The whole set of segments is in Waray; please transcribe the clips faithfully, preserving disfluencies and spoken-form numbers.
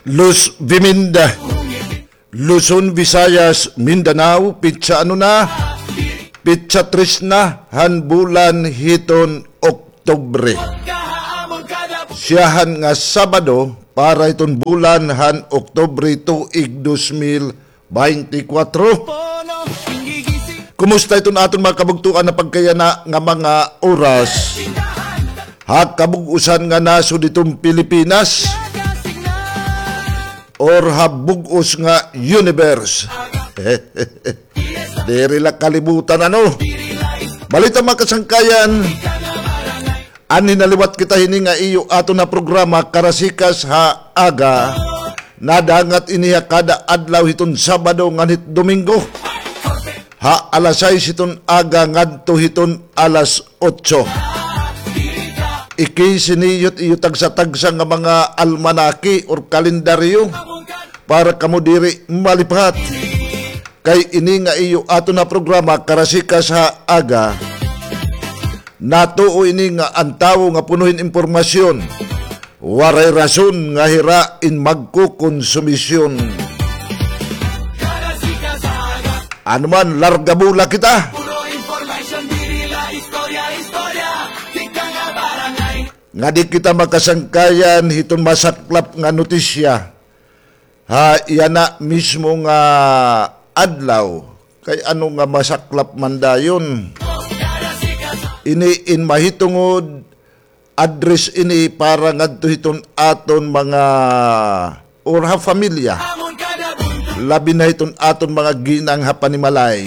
Luz Viminda, Luzon, Visayas, Mindanao, pitsa ano na? Pitsa tres na han bulan hiton Oktubre. Siyahan nga Sabado para hiton bulan han Oktubre tuig dos mil baynte kwatro. Kumusta iton aton mga kabugtoan na pagkayana nga mga oras? Ha kabug-osan nga nasod hiton Pilipinas or ha bug-os nga universe? Diri la kalibutan, ano? Balita, mga kasangkayan. Anhi na liwat kita hini nga iyo aton nga programa, Karasikas ha Aga. Nadangat ini ha kada adlaw hiton Sabado ngan hit Domingo. Ha alas sais hiton aga ngadto hiton alas otso. Iki sini iyo tagsa-tagsa nga mga almanaki or kalendaryo para kamo diri malipat. Kay ini nga iyo aton nga programa, Karasikas ha Aga, natuo ini nga an tawo nga puno hin impormasyon, waray rason nga hira in magkokonsumisyon. Ano man, larga bola kita. Nga di kita makasangkayan hiton masaklap nga notisya ha yana mismo nga adlaw. Kay ano nga masaklap man dayon. Ini in mahitungod, address ini para ngadto hiton aton mga or ha pamilya. Labi na hiton aton mga ginang ha panimalay.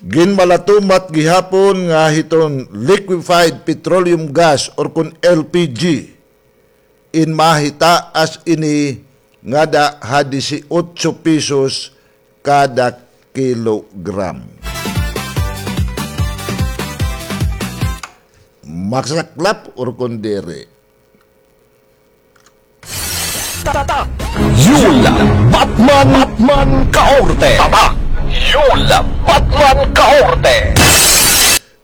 Ginmalatumat gihapon nga hiton liquefied petroleum gas or kon L P G in mahitaas ini ngada ha disiotso pesos kada kilogram. Masaklap or kon diri? Tata Yul Batman, Batman Kaorte. Tata Yul Batman Kaorte.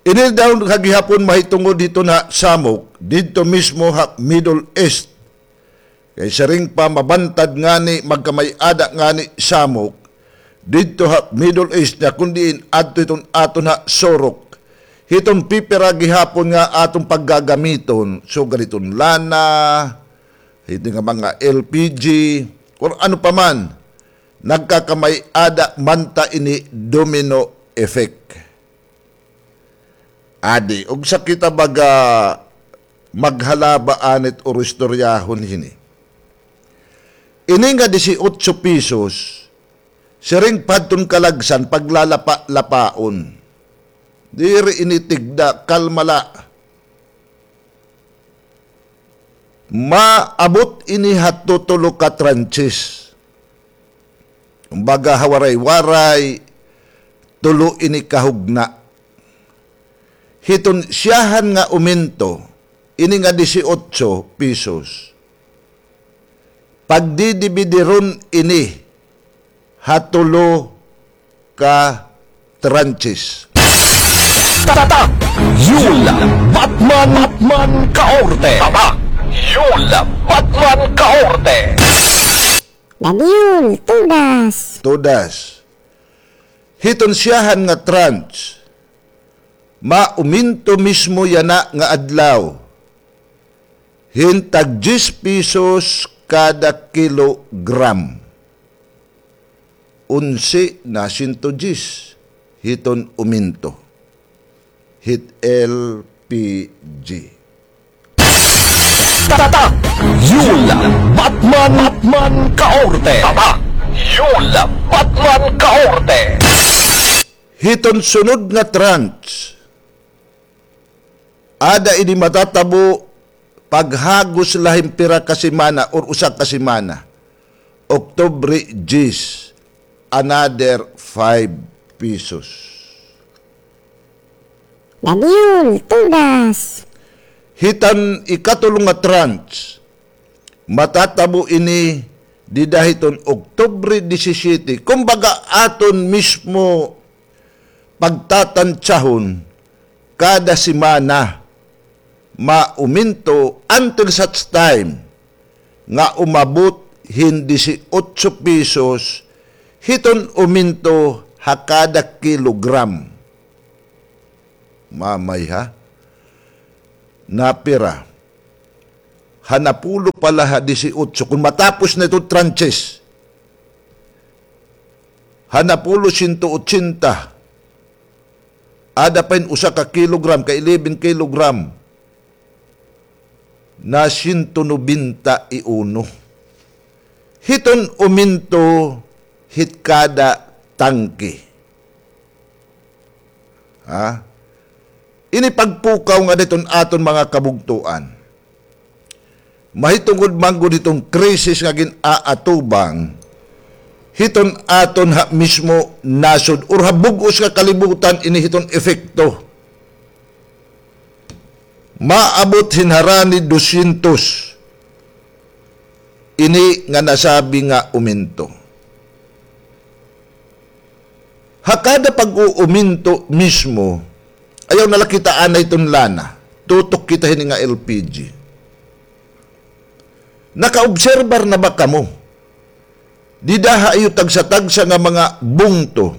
Ini daw kagihapon mahitungod hiton ha Samok, didto mismo ha Middle East. Kay siring pa mabantad ngani, magkamay-ada ngani Samok didto ha Middle East nga kon diin adto hiton aton ha Surok. Hiton pipira gihapon nga aton paggagamiton, sugad hiton lana, hiton nga mga L P G, or ano pa man, nagkakamay-ada man ta ini domino effect. Adi, ugsa kita baga maghalaba anit or istoryahon hini. Ini nga disiotso pesos, siring pa hadton kalagsan paglalapa-lapaon. Diri ini tigda, kalma la. Maabot ini ha tutulo ka tranches. Kumbaga, ha Waray-Waray, tulo ini kahugna. Hiton siyahan nga umento, ini nga disiotso pesos. Pagdidibidiron ini ha tulo ka tranches. Tata Yul Batman, Batman Kaorte. Tata Yul Batman Kaorte. Daniel, tudas. Tudas. Hiton siyahan nga tranche, mauminto mismo yana nga adlaw hin tag diyes pesos kada kilogram. Onse na siyento diyes hiton uminto hit L P G. Tata Yul Batman, Batman Kaorte. Tata Yul Batman Kaorte. Hiton sunod nga tranche, ada ini matatabo paghagos la hin pira ka semana or usa ka semana. Oktubre diyes, another five pesos. Daniel, tudas. Hiton ikatulo nga tranche, matatabo ini dida hiton Oktubre disisyete. Kumbaga, aton mismo pagtatantsahon kada semana, mauminto until such time nga umabot hin disiotso pesos hiton uminto ha kada kilogram. Mamay ha. Napira. Ha napulo pa la ha disiotso. Kon matapos na ito tranches. Ha napulo, siyento otsenta. Ada pa hin usa ka kilogram, ka eleven kilogram. Na siyento nobenta y uno. Hiton uminto hit kada tangke. Ha? Ini pagpukaw nga diton aton mga kabugtoan. Mahitungod man gud hiton krisis nga gin-aatubang hiton aton ha mismo nasod or ha bug-os nga kalibutan ini hiton epekto. Maabot hin harani dosyentos ini nga nasabi nga uminto. Ha kada pag-uuminto mismo, ayaw na la kita anay ton lana, tutok kita hini nga L P G. Nakaobserbar na ba kamo dida ha iyo tagsa-tagsa nga mga bungto?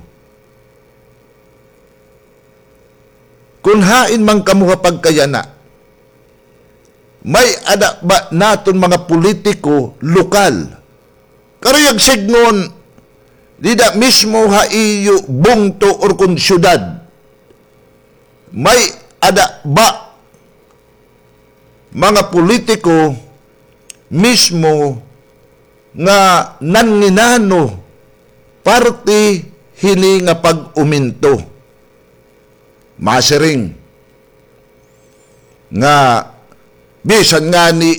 Kon hain man kamo ha pagkayana, may-ada ba naton mga politiko lokal? Karuyag sidngon, dida mismo ha iyo bungto or kon syudad, may-ada ba mga politiko mismo nga nanginano parte hini nga pag-uminto? Masiring nga bisan ngani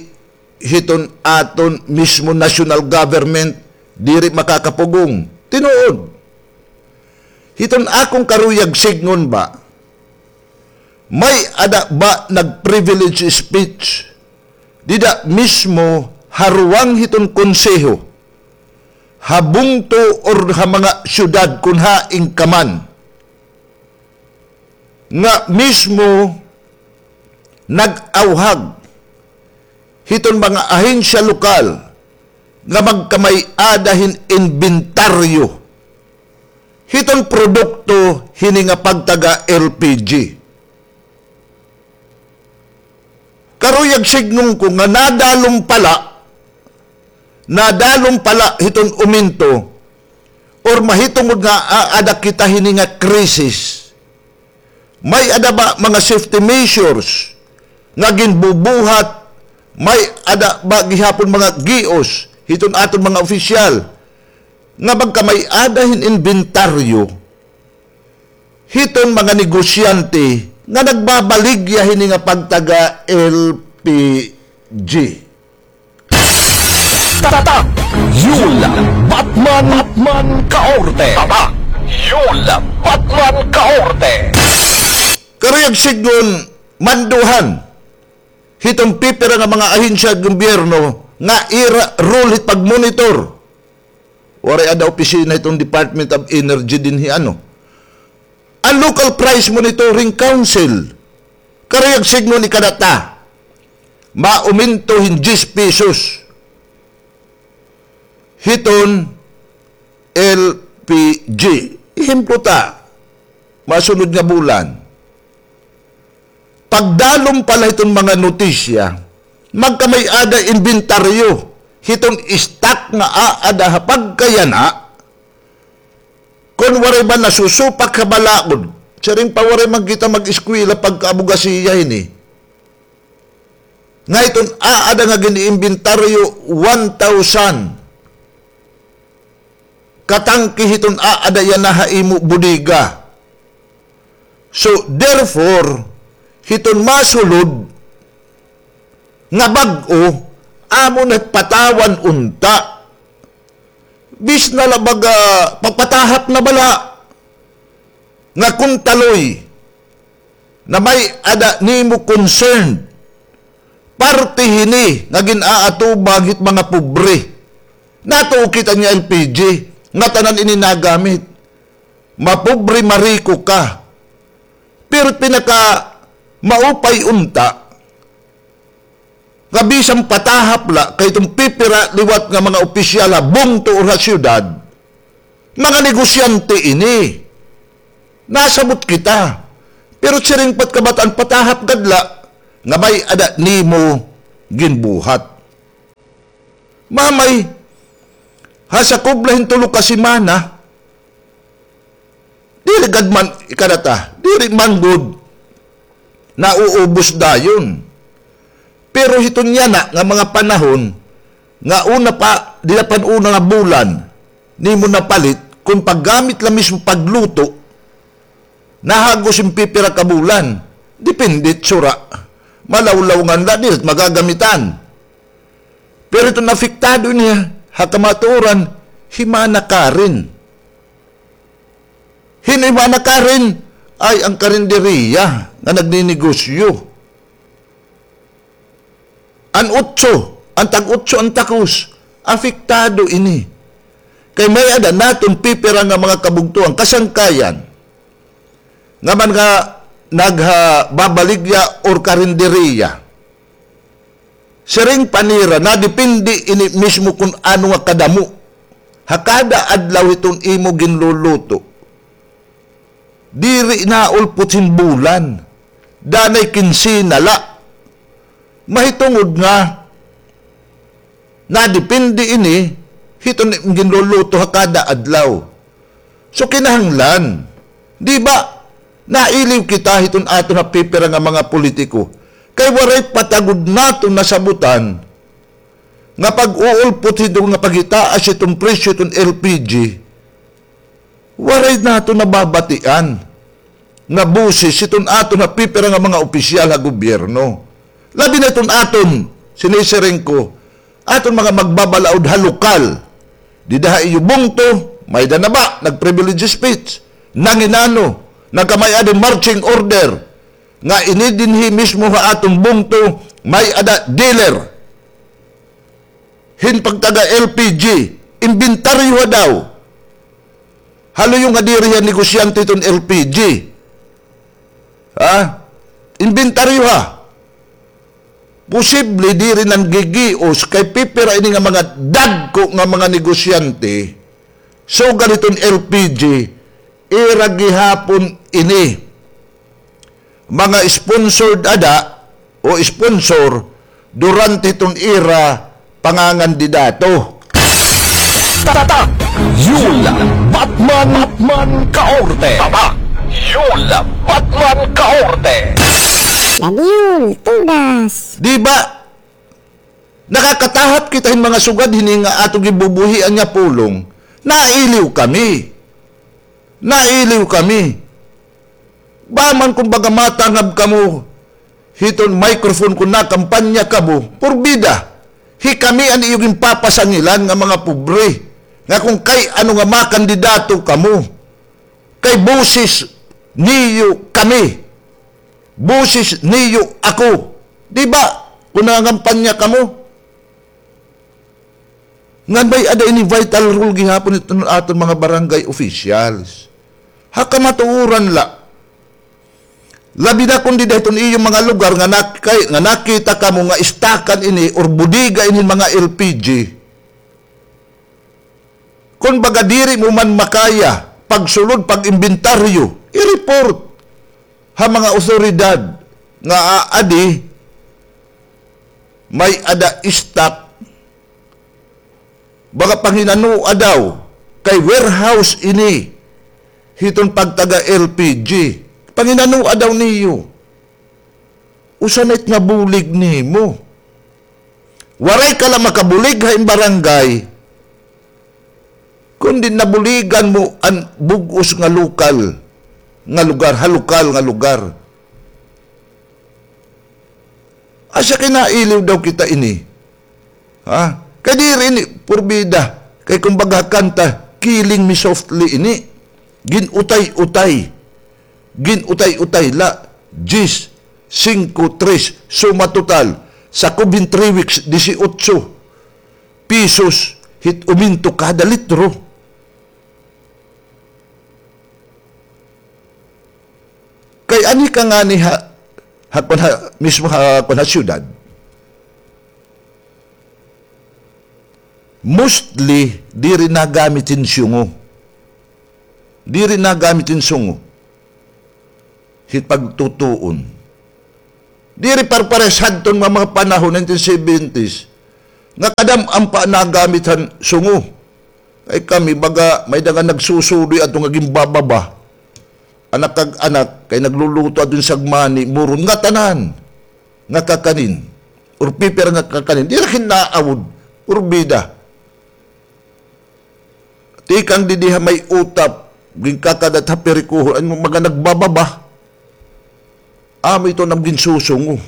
hiton aton mismo national government diri makakapugong. Tinuod. Hiton akon karuyag sidngon ba, may-ada ba nag-privilege speech dida mismo ha ruwang hiton konseho, ha bungto or ha mga syudad kon hain ka man, nga mismo nag-awhag hiton mga ahensya lokal nga magkamay-ada hin inbentaryo hiton produkto hini nga pagtaga L P G. Karuyag sidngon ko nga nadalom pa la, nadalom pa la hiton uminto, or mahitungod nga aada kita hini nga krisis, may-ada ba mga safety measures nga ginbubuhat? May-ada ba gihapon mga gios hiton aton mga opisyal nga magkamay-ada hin inbentaryo hiton mga negosyante nga nagbabaligya hini nga pagtaga L P G? Tatak Yul Batman, Batman Kaorte. Tatak Yul Batman Kaorte. Karuyag sidngon, manduhan hiton pipira nga mga ahensya gobyerno nga ira role hit pag-monitor. Waray ada opisina hiton Department of Energy dinhi, ano. An Local Price Monitoring Council, karuyag sidngon, ikadata, mauminto hin diyes pesos hiton L P G. Ehemplo ta, masunod nga bulan, pagdalom pa la hiton mga notisya, magkamay-ada inbentaryo hiton stock nga aada ha pagkayana, kon waray ba nasusupak ha balaod, siring pa waray man kita mag-eskwela pagka-abogasiya hini, nga hiton aada nga gin-iimbentaryo, one thousand katangke hiton aada yana ha imo bodega. So, therefore, hiton masulod nga bag-o, amo na patawan unta. Bis na la baga, papatahap na bala nga kuntaloy na may-ada nimo concern. Parte hini nga gin-aatubang hit mga pobre. Natuo kita nga L P G, ngatanan ini nagamit. Mapobre, mariko ka. Pero pinakamaupay unta, Nga bisan patahap la kay iton pipira liwat nga mga opisyal ha bungto or ha syudad, mga negosyante ini. Nasabot kita. Pero siring pa it kabataan, patahap gad la nga may-ada nimo ginbuhat. Mamay, ha sakob la hin tulo ka semana, diri gad man, ikadata, diri man gud nauubos dayon. Pero hiton yana nga mga panahon, nga una pa, dida pa hin una nga bulan, nimo napalit, kon paggamit la mismo pagluto, nahagos hin pipira ka bulan. Depende it sura. Malawlaw ngan la, diri magagamitan. Pero iton apektado ini ha kamatuoran, hi Mana Karen. Hin-o hi Mana Karen? Ay, an karinderiya nga nagninegosyo. An otso, an tag-otso an takos, apektado ini. Kay may-ada naton pipira nga mga kabugtoan, kasangkayan, nga man nga naghababaligya or karinderiya. Siring pa nira, nadepende ini mismo kon ano nga kadamo ha kada adlaw hiton imo ginluluto. Diri naulpot hin bulan. Danay kinsena la. Mahitungod nga nadepende ini hiton ginluluto ha kada adlaw. So, kinahanglan, di ba, nailiw kita hiton aton ha pipira nga mga politiko. Kay waray pa ta gud naton nasabutan nga pag-uulpot hiton nga paghitaas hiton presyo hiton L P G. Waray naton nababatian nga boses hiton aton ha pipira nga mga opisyal ha gobyerno. Labi na hiton aton, sinisiring ko, aton mga magbabalaod ha lokal. Dida ha iyo bungto, may-ada na ba nag-privilege speech? Nanginano, nagkamay-ada hin marching order nga ini dinhi mismo ha aton bungto, may-ada dealer hin pagtaga L P G, imbentaryoha daw. Ha luyo nga diri hiya negosyante hiton L P G. Ha? Imbentaryoha. Posible diri nanggigios kay pipira ini nga mga dagko nga mga negosyante. Sugad hiton L P G, ira gihapon ini mga sponsored ada o sponsor durante hiton ira pangangandidato. Tatak Yul Batman, Batman Kaorte. Tatak Yul Batman Kaorte. Ladiol, tudas. Di ba? Nakakatahap kita hin mga sugad hini nga aton gibubuhian nga pulong. Nailiw kami. Nailiw kami. Ba man kon baga matangab kamo hiton microphone kon nakampanya kamo, porbida. Hi kami an iyo ginpapasangilan nga mga pobre. Nga kon kay ano nga makandidato kamo. Kay boses niyo kami. Boses niyo ako. Di ba? Kon nangangampanya kamo. Ngan may-ada ini vital role gihapon iton aton mga barangay officials. Ha kamatuoran la. Labi na kon dida hiton iyo mga lugar nga nakay-, nga nakita kamo nga istakan ini or bodega ini mga L P G. Kon baga diri mo man makaya pagsulod, pag-imbentaryo, i-report ha mga awtoridad nga aadi may-ada stock. Baga panginanoa daw kay warehouse ini hiton pagtaga L P G. Panginanoa daw niyo. Usa na it nabulig nimo. Waray ka la makabulig ha im barangay, kundi nabuligan mo an bug-os nga lokal nga lugar, ha lokal nga lugar. Asya kay nailiw daw kita ini. Ha? Kay diri ini porbida. Kay kumbaga kanta, Killing Me Softly ini. Gin-utay-utay. Gin-utay-utay la, diyes, singko, tres, suma total, sakob hin three weeks, disiotso pesos hit uminto kada litro. Kay anhi ka ngani ha, ha, kon ha, mismo ha, kon ha syudad, Mostly, diri nagamit hin sungo. Diri nagamit hin sungo. Hit pagtutuon. Diri parpares hadton mga, mga panahon, nineteen seventies, nga kadam-an pa nagamit han sungo. Kay kami, baga, may-ada nga nagsusudoy ato nga ginbababa. Anak kag anak, kay nagluluto adto hin sagmani, muron ngatanan nga kakanin. Or pipira nga kakanin. Diri kinaawod, or bida. Tikang didi ha may utap, ginkakadat ha pirikuhon, an mga nagbababa. Amo ito an ginsusungo.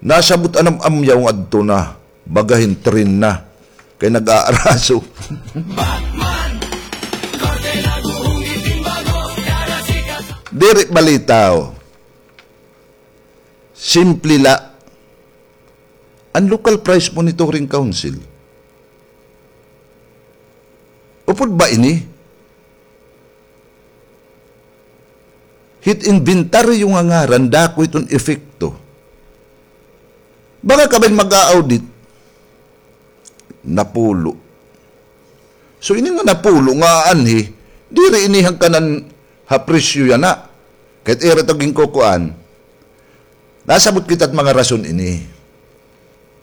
Nasabot an am-amyaw nga adto na, baga hin tren na, kay nag-aaraso. Diri balita, o. Simple la. An Local Price Monitoring Council. Upod ba ini? Hit inventaryo nga ngaran, dako hiton epekto. Baga kabay mag-a-audit, napulo. So, ini nga napulo nga aanhi, diri ini hangkanan ha presyo yana. Kay ira ito ginkukuan. Nasabot kita it mga rason ini.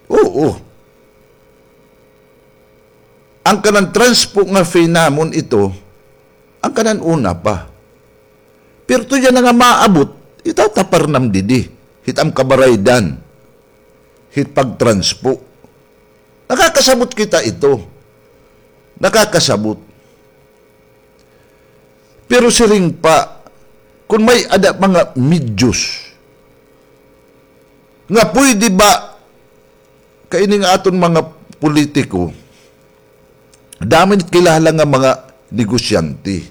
Oo. An kanan transpo nga fee namon ito, an kanan una pa. Pero ito yana nga maabot, itatapar nam didi, hit am kabaraydan, hit pagtranspo. Nakakasabot kita ito. Nakakasabot. Pero siring pa, kon may-ada mga medyos nga pwede ba, kay ini nga aton mga politiko, damo it kilala nga mga negosyante.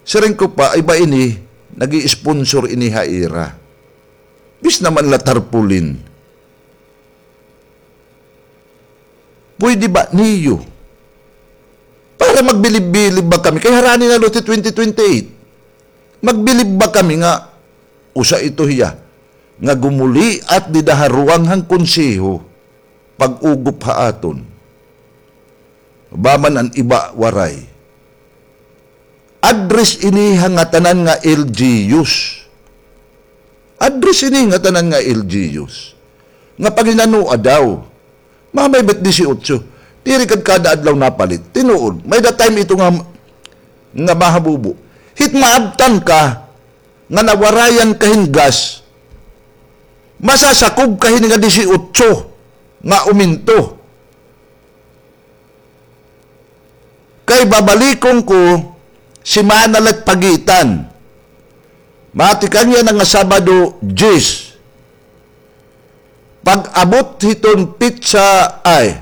Siring ko pa, ay ba ini, nag-i-sponsor ini ha ira. Bis naman la tarpaulin. Pwede ba niyo? Para magbilib-bilib ba kami? Kay harani na la it twenty twenty-eight. Magbilib ba kami nga usa ito hiya nga gumuliat dida ha ruwang han konseho, pag-ugop ha aton? Ba man an iba waray. Address ini ha ngatanan nga L G Us. Address ini ha ngatanan nga L G Us. Nga paghinanoa daw. Mamay bat disiotso. Diri kad kada adlaw napalit. Tinuod. May-ada time ito nga, nga mahabubo. Hit maabtan ka, nga nawarayan ka hin gas, masasakob ka hini nga disiotso nga umento. Kay babalikon ko, simana la it pagitan. Matikang yana nga Sabado, diyes. Pag-abot hiton petsa, ay,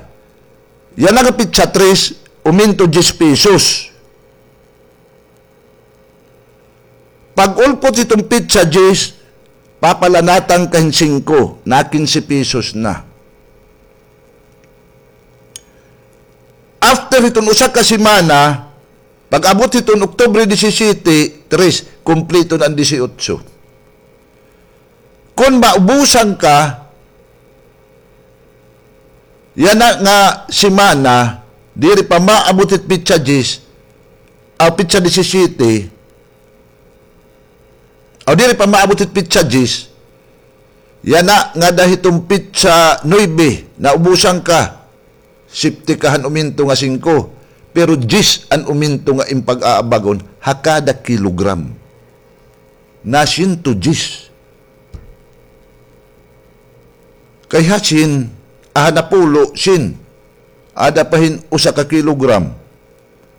yana nga petsa tres, umento diyes pesos. Pag-ulpot hiton petsa diyes, papalanatan ka hin singko, na kinse pesos na. After hiton usa ka semana, pag-abot hiton Oktubre disisiyete, tres, kumpleto na an disiotso. Kon maubusan ka yana nga semana, diri pa maabot hit petsa diyes, aw petsa disisiyete, aw diri pa maabot hit petsa diyes, yana ngada hiton petsa nuebe, naubusan ka. Safety ka han umento nga singko, pero diyes an umento nga im pag-aabagon ha kada kilogram. Na siyento diyes. Kay ha syen, aha, napulo, syen. Ada pa hin usa ka kilogram.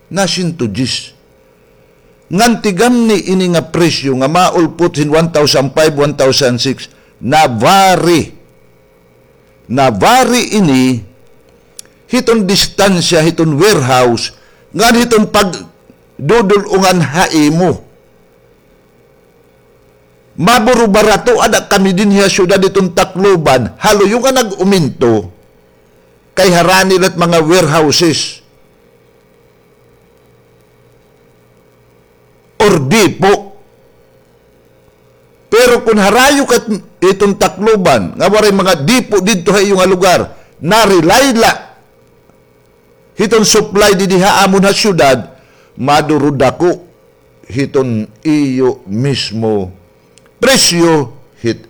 Na siyento diyes. Ngan tigamni ini nga presyo nga maulpot hin one thousand five, one thousand six, na-vary. Na-vary ini hiton distansya hiton warehouse ngan hiton pagdudul-ongan ha imo. Maburo-barato ada kami dinhi ha syudad hiton Tacloban, ha luyo nga nag-uminto, kay harani la it mga warehouses or depo. Pero Kon harayo ka hiton Tacloban, nga waray mga dipo didto ha iyo nga lugar, na-rely la hiton supply didi ha amon ha syudad, maduro dako hiton iyo mismo presyo hit